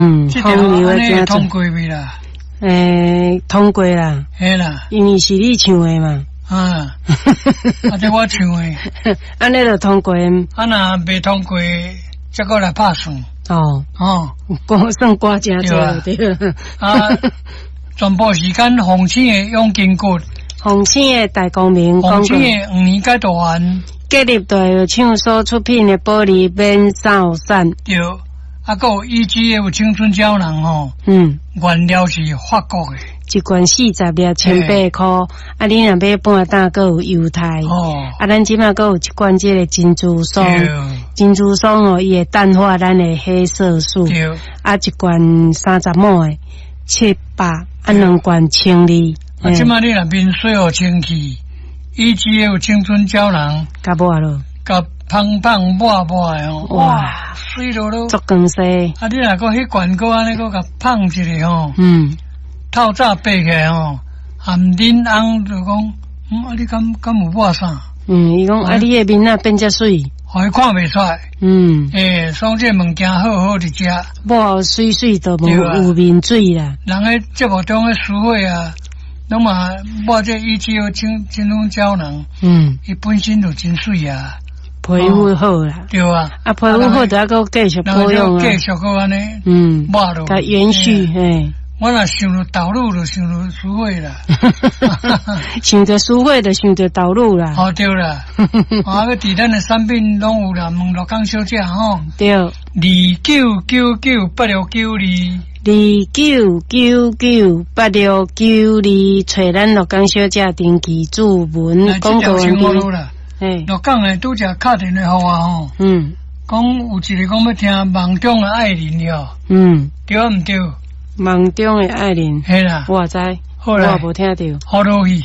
嗯，這條風流按呢的通過未啦？欸，通過啦。嘿啦。因為是你唱的嘛。啊，啊，這我唱的。按呢就通過。啊，若袂通過，才閣來拍算。哦。哦。歌算歌誠濟對。啊，全部時間鳳青的養筋骨，鳳青的大光明，鳳青的黃連解毒丸，建立大藥廠所出品的保利免掃散。對。啊，閣有 EGF 青春膠囊吼，原料是法國的，一罐40粒，1800箍。啊，你若買半擔，閣有優待。啊，咱這馬閣有一罐這个珍珠霜，珍珠霜哦，伊會淡化咱的黑色素。啊，一罐30毫的700，啊，兩罐1200。啊，這馬你若面洗予清氣，EGF 青春膠囊，共抹囉。共芳芳抹抹的吼，哇，媠囉囉，足光鮮。啊，你若閣彼罐閣按呢閣共芳一下吼，透早爬起來吼，含恁翁就講，啊，你敢敢有抹啥？嗯，伊講啊，你的面仔變遮媠，予伊看袂出來。欸，所以這个物件好好佇遮，抹媠媠都無有面水啦。人咧節目中咧淑慧啊，攏嘛抹這 EGF 青春膠囊，伊本身就真媠啊。皮膚好啦，對啊，啊，皮膚好就猶閣繼續保養啊，繼續閣按呢，抹落，共延續，嘿。我若想著導入，就想著淑慧啦。想著淑慧，就想著導入啦。哦，對啦，啊，欲佇咱的產品攏有啦，問鹿港小姐吼。對。29998692。29998692，揣咱鹿港小姐登記注文廣告員。嘿，鹿港的拄才敲電話予我吼，講有一个講欲聽夢中的愛人了，對毋對？夢中的愛人，嘿啦，我知，好啦，我無聽著。好落去。